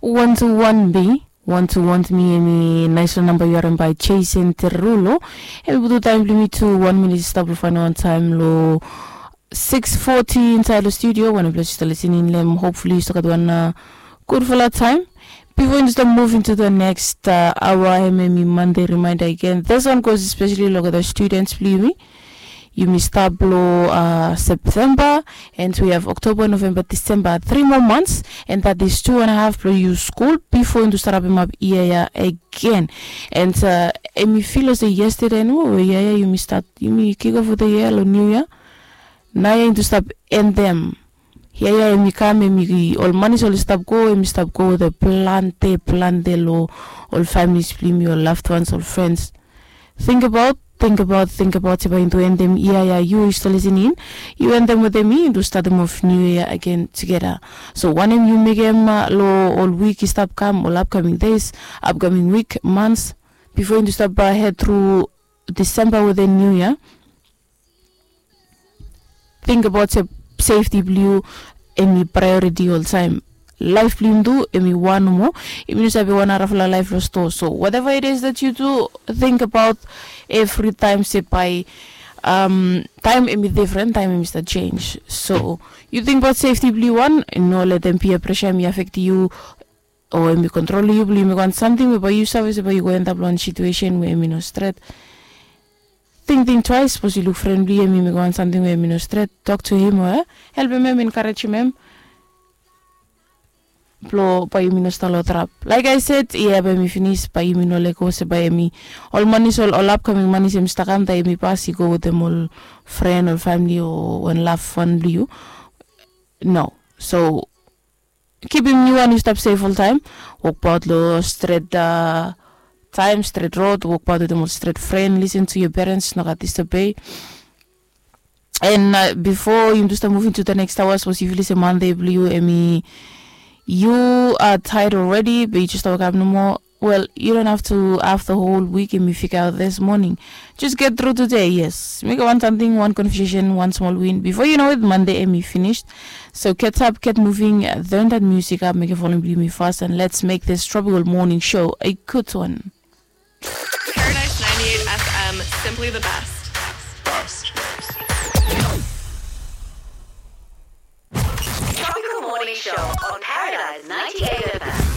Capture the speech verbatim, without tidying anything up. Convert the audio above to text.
One to one B, one to one mi, hemi naesfala namba yu harem bae Jason Derulo. Hemi putum taem blong yumi tu wan minit i stap long faenol taem long six forty insaed long studio. Wantaem blong yu stap lisin in long hem, hopefully yu stap gat wan gudfala taem. Bifo yumi stap move into the next aoa, hemi Monday reminder again. This one goes especially long the students blong yumi. Yumi stap long September, and we have October, November, December, three more months, and that is two and a half blong yu skul bifo yumi stap rapemap yia ya again. And hemi fil olsem yesterday nomo we yia ya yumi stap, yumi kick off with the year long new year. Naoia yumi stap endem. Yia ya hemi kam, hemi ol manis oli stap go, hemi stap go with the plante plante long ol families blong yumi, ol loved ones, ol friends. Think about, think about, think about se bae yumi tu endem yia ya, yu yu stap lisin in, yu endem wetem mi, yumi tu statem of new year again together. So wanem yu mekem long ol wik i stap kam, ol upcoming days, upcoming week, months, bifo yumi tu stap hed tru December with the new year. Think about se safety blong yu hemi priority oltaem. Laef blong yumi tu hemi wan nomo. Yumi no save wan narafala laef long stoa. So whatever it is that you do, think about evri taem se bae taem hemi difren, taem hemi stap jenis. So yu think about safety blong yu wan, no letem peer pressure hemi afektem yu o hemi kontrolem yu blong yu mekem wan samting we bae yu save se bae yu go endap long wan situesen we hemi no stret. Tingting twaes, sapos yu luk fren blong yu hemi mekem wan samting we hemi no stret, tok tu hem o helpem hem, enkarejem hem blong bae yumi no stap long trap. Like I said, yia bae hemi finis, bae yumi no lego se bae hemi, ol manis, ol upcoming manis hemi stap kam, taem hemi pas i go wetem ol fren, ol famili o wan lafwan blong yu. No. So kipim yu and yu stap sef oltaem. Wokbaot long stret taem, stret rod, wokbaot wetem ol stret fren, listen to your parents, no gat disobey. And bifo yumi tu stap move into the next aoa, sapos yu fil se Monday blong yu hemi, yu are tired already, be yu jes stap wokap nomo. Well, you don't have to have the whole week and mi figure out this morning. Just get through today, yes. Mekem wan samting, wan conversation, wan smol win. Before you know it, Monday hemi finis. So get up, get moving, turn that music up, mekem volume blong yumi fast, and let's make this tropical morning show a good one. Paradise ninety-eight F M, simply the best. Tropical Morning Show on Paradise ninety-eight F M.